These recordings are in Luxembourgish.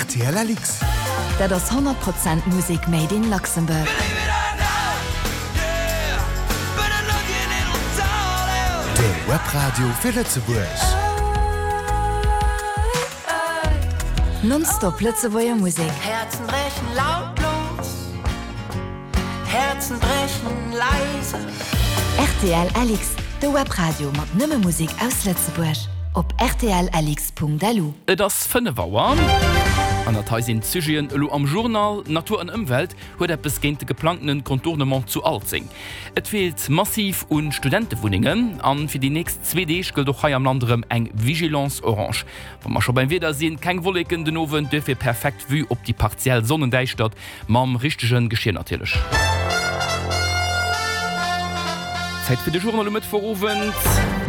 Rtl LX. Dat ass 100 Prozent Musek made in Luxembourg. De Webradio fir Lëtzebuerg. Non-stop Lëtzebuerger Musek. Herzen brechen lautlos, Herzen brechen leise. Rtl LX, de Webradio mat nëmme Musek aus Lëtzebuerg. Op rtlLX.lu. Et ass 5 Auer an dat hei sinn d'Sujeten elo am Journal. Natur an Ëmwelt huet eppes géint de geplangtene Contournement zu Alzeng. Et feelt massiv un Studentewunnengen an fir déi nächst zwee Deeg gëllt och hei am Land erëm eng Vigilance orange. Wa mer scho beim Wieder sinn, keng Wolleken den Owend, duerfir perfekt Vue op déi partiell Sonnendäischtert, mam richtege Geschir natierlech. Zäit fir de Journal um Mëttwochowend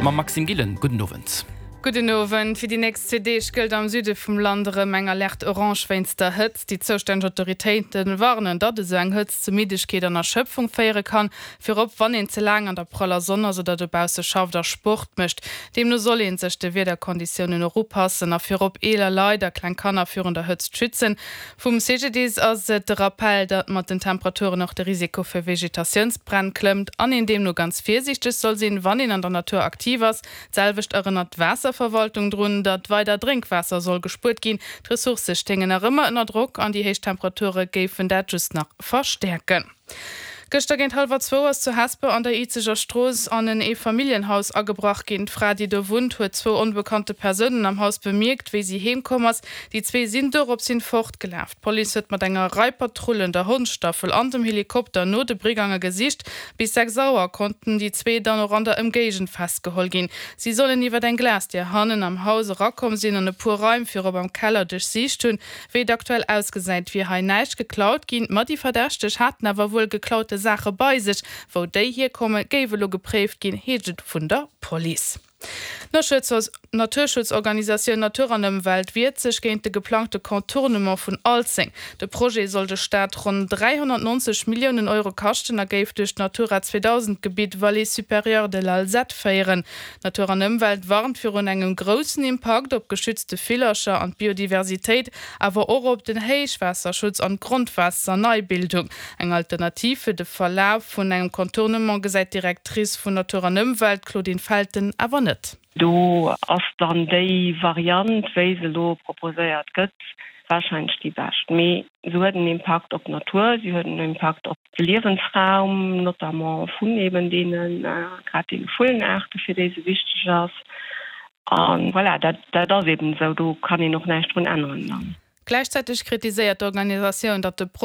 mam Maxime Gillen. Gudden Owend. Gudden Owend. Fir déi nächst zwee Deeg gëllt am Süde vum Land erëm eng Alerte orange wéinst der Hëtzt. Déi zoustänneg Autoritéite warnen, datt esou eng Hëtzt zu Middegkeet an Erschëpfung féiere kann, virop wann een ze laang an der praller Sonn ass oder dobausse schafft a Sport mécht. Deemno soll ee sech de Wiederkonditiounen och upassen a virop eeler Leit a kleng Kanner virun der Hëtzt schützen. Vum CGDIS ass et de Rappell, datt mat den Temperaturen och de Risiko fir Vegetatiounsbränn klëmmt an een deemno ganz virsiichteg soll sinn, wann een an der Natur aktiv ass. D'selwecht erënnert d'Waasserverwaltung drun, datt weider Drénkwaasser soll gespuert ginn. D'Ressourcë stéingen nach ëmmer ënner Drock an déi héich Temperature géifen dat just nach verstäerken. Gëschter géint hallwer zwou ass zu Hesper an der Izeger Strooss an en Eefamilljenhaus agebrach ginn. D'Fra, déi do wunnt, huet zwou onbekannte Persounen am Haus bemierkt, wéi si heem komm ass. Déi zwee sinn dorops hin fortgelaf. D'Police huet mat enger Rei Patrullen, der Hondsstaffel an dem Helikopter no de Brigange gesicht. Bis 6 Auer konnten déi zwee dann och an der Ëmgéigend festgeholl ginn. Si sollen iwwer eng Glasdier hannen am Haus erakomm sinn an e puer Raim, virop am Keller, duerchsicht hunn. Wéi et aktuell ausgesäit, wier hei näischt geklaut ginn, ma déi Verdächteg haten awer wuel geklaute Saache bei sech. Wou déi hierkommen, géif elo gepréift ginn, heescht et vun der Police. D'Naturschutzorganisatioun Natur an Ëmwelt wiert sech géint de geplangte Contournement vun Alzeng. De Projet soll de Staat ronn 390 Milliounen Euro kaschten a géif duerch d'Natura 2000 Gebitt Vallée supérieure de l'Alzette féieren. Natur an Ëmwelt warnt virun engem groussen Impakt op geschützte Villercher an d'Biodiversitéit, awer och op den Héichwaasserschutz an d'Grondwaasserneibildung. Eng Alternativ fir de Verlaf vun engem Contournement gesäit d'Directrice vun Natur an Ëmwelt, Claudine Felten, awer net. Do ass dann déi Variant, wéi se elo proposéiert gëtt, warscheinlech déi bescht. Mee se huet en Impakt op d'Natur, si huet en Impakt op de Liewensraum, notamment vun eben deene, grad deene Vullenaarte fir déi se wichteg ass. A voilà, dat, dat ass eben esou, do kann een och näischt drun änneren dann. Gläichzäiteg kritiséiert d'Organisatioun, datt de.